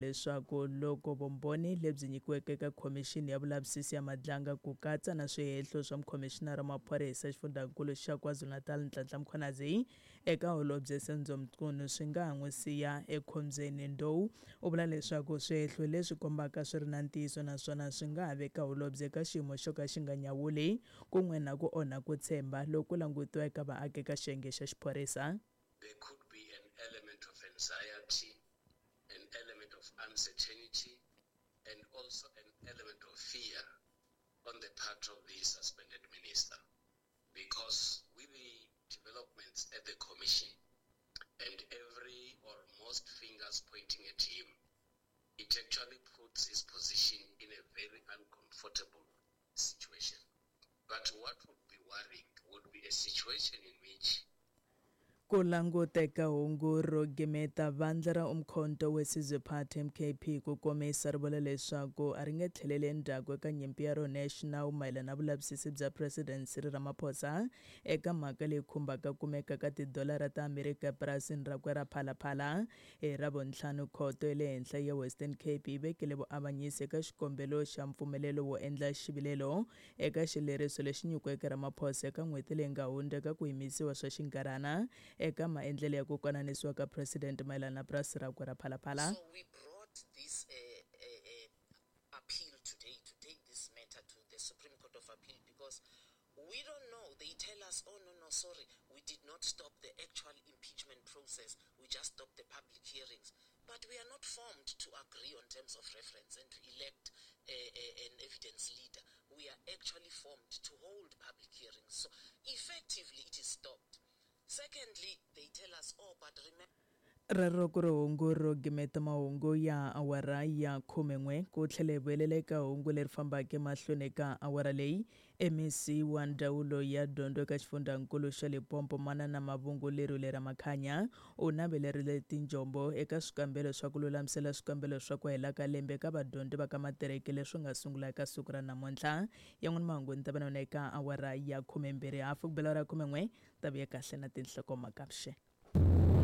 Leswaku loko vumbhoni lebyi nyikiweke eka Khomixini ya Vulavisisi ya Madlanga ku katsa na swihehlo swa Mukhomixinara wa Maphorisa eXifundzankulu xa KwaZulu-Natal Nhlanhla Mkhwanazi eka Holobye Senzo Mchunu swi nga ha n'wi siya ekhombyeni. Ndou u vula leswaku swihehlo leswi kombaka swi ri na ntiyiso naswona swi nga ha veka holobye eka xiyimo xo ka xi nga nyawuli kun'we na ku onha ku tshemba loku langutiwa eka vaaki eka xiyenge xa xiphorisa. There could be an element of anxiety an element of uncertainty and also an element of fear on the part of the suspended minister because with the developments at the commission and every or most fingers pointing at him, it actually puts his position in a very uncomfortable situation. But what would be worrying would be a situation in which Ku languteka hungu ro gimeta vandla ra Umkhonto we Sizwe Party, MKP, ku komisa ri vula leswaku a ri nge tlheleli endzhaku eka nyimpi ya rona ya xinawu mayelana na vulavisisi bya President Cyril Ramaphosa eka mhaka leyi khumbaka kumeka ka tidolara ta Amerika epurasini rakwe ra Phala Phala. Hi Ravuntlhanu, Khoto ya le Henhla ya Western Cape yi vekile vuavanyisi eka xikombelo xa mpfumelelo wo endla xivilelo eka xileriso lexi nyikiweke Ramaphosa eka n'hweti leyi nga hundza eka ku yimisiwa swa xinkarhana eka maendlelo ya ku konanisiwa ka President mayelana na purasi rakwe ra Phala Phala. So we brought this uh, uh, uh, appeal today to take this matter to the Supreme Court of Appeal because we don't know. They tell us, oh, no, no, sorry, we did not stop the actual impeachment process. We just stopped the public hearings. But we are not formed to agree on terms of reference and to elect a, a, an evidence leader. We are actually formed to hold public hearings. So effectively, it is stopped. Secondly, they tell us, oh, but remember. Rero ku ri hungu ro gimeta mahungu ya awara ya khumen'we ku tlhela hi vuyelela eka hungu leri fambaka emahlweni eka awara leyi. MEC wa Ndzawulo ya Dyondzo eka Xifundzankulu xa Limpopo Manana Mavhungu Lerule Ramakhanya u navelerile tinjombo eka swikambelo swa ku lulamisela swikambelo swa ku hela ka lembe eka vadyondzi va ka matiriki leswi nga sungula eka siku ra namuntlha. Yan'wana mahungu ni ta va na yona eka awara ya khumembirhi hafu ku bela awara ya khumen'we ta vuya kahle na tinhlokomhaka vuxeni.